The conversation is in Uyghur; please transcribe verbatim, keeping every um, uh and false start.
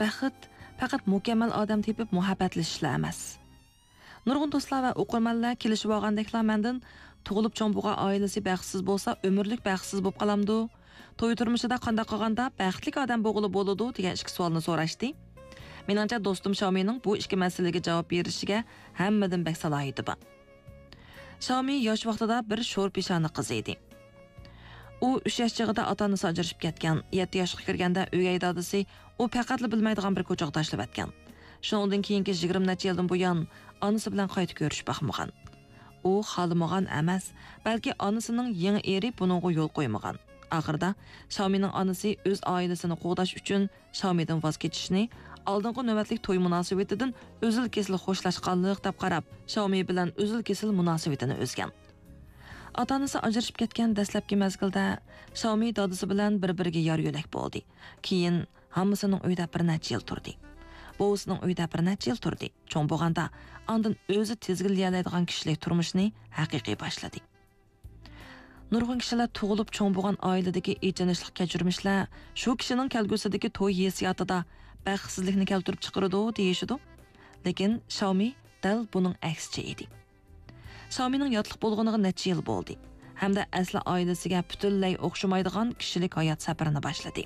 بەخت پەقەت مۇكەممەل ئادەم تېپىپ مۇھەببەتلىشىشلا ئەمەس. نۇرغۇن دوستلار ۋە ئوقۇرمەنلەر كېلىشىۋالغاندەكلا مەندىن، تۇغۇلۇپ چوڭ بولغان ئائىلىسى بەختسىز بولسا، ئۆمۈرلۈك بەختسىز بولۇپ قالامدۇ؟ توي تۇرمۇشىدا قانداق قىلغاندا بەختلىك ئادەم بولغىلى بولىدۇ؟ دېگەن ئىككى سوئالنى سوراشتى. مېنىڭچە، دوستۇم شاۋمىنىڭ بۇ ئىككى مەسىلىگە جاۋاب بېرىشىگە ھەممىدىن بەك سالاھىيىتى بار. شاۋمى ياش ۋاقتىدا بىر شور پېشانە قىز ئىدى. ئۇ ئۈچ ياش چېغىدا ئاتا-ئانىسى ئاجرىشىپ كەتكەن. يەتتە ياشقا كىرگەندە ئۆگەي دادىسى ئۇ پەقەتلا بىلمەيدىغان بىر كوچىغا تاشلىۋەتكەن. شۇنىڭدىن كېيىنكى يىگىرمە نەچچە يىلدىن بۇيان ئانىسى بىلەن قايتا كۆرۈشۈپ باقمىغان. ئۇ خالىمىغان ئەمەس، بەلكى ئانىسىنىڭ يېڭى ئېرى بۇنىڭغا يول قويمىغان. ئاخىرىدا شاۋمىنىڭ ئانىسى ئۆز ئائىلىسىنى قوغداش ئۈچۈن شاۋمىدىن ۋاز كېچىشنى ئالدىنقى نۆۋەتلىك توي مۇناسىۋىتىدىن ئۈزۈل-كېسىل خوشلاشقانلىق دەپ قاراپ، شاۋمى بىلەن ئۈزۈل-كېسىل مۇناسىۋىتىنى ئۈزگەن. ئاتا-ئانىسى ئاجرىشىپ كەتكەن دەسلەپكى مەزگىلدە شاۋمى دادىسى بىلەن بىر-بىرىگە يار-يۆلەك بولدى. كېيىن ھاممىسىنىڭ ئۆيىدە بىر نەچچە يىل تۇردى. بوۋىسىنىڭ ئۆيىدە بىر نەچچە يىل تۇردى. چوڭ بولغاندا ئاندىن ئۆزى تىزگىنلىيەلەيدىغان كىشىلىك تۇرمۇشنى ھەقىقىي باشلىدى. نۇرغۇن كىشىلەر تۇغۇلۇپ چوڭ بولغان ئائىلىدىكى ئېچىنىشلىق كەچۈرمىشلەر شۇ كىشىنىڭ كەلگۈسىدىكى توي ھېسسىياتىدا بەختسىزلىكنى كەلتۈرۈپ چىقىرىدۇ دېيىشىدۇ. لېكىن شاۋمى دەل بۇنىڭ ئەكسىچە ئىدى. شاۋمىنىڭ ياتلىق بولغىنىغا نەچچە يىل بولدى ھەمدە ئەسلى ئائىلىسىگە پۈتۈنلەي ئوخشىمايدىغان كىشىلىك ھايات سەپىرىنى باشلىدى.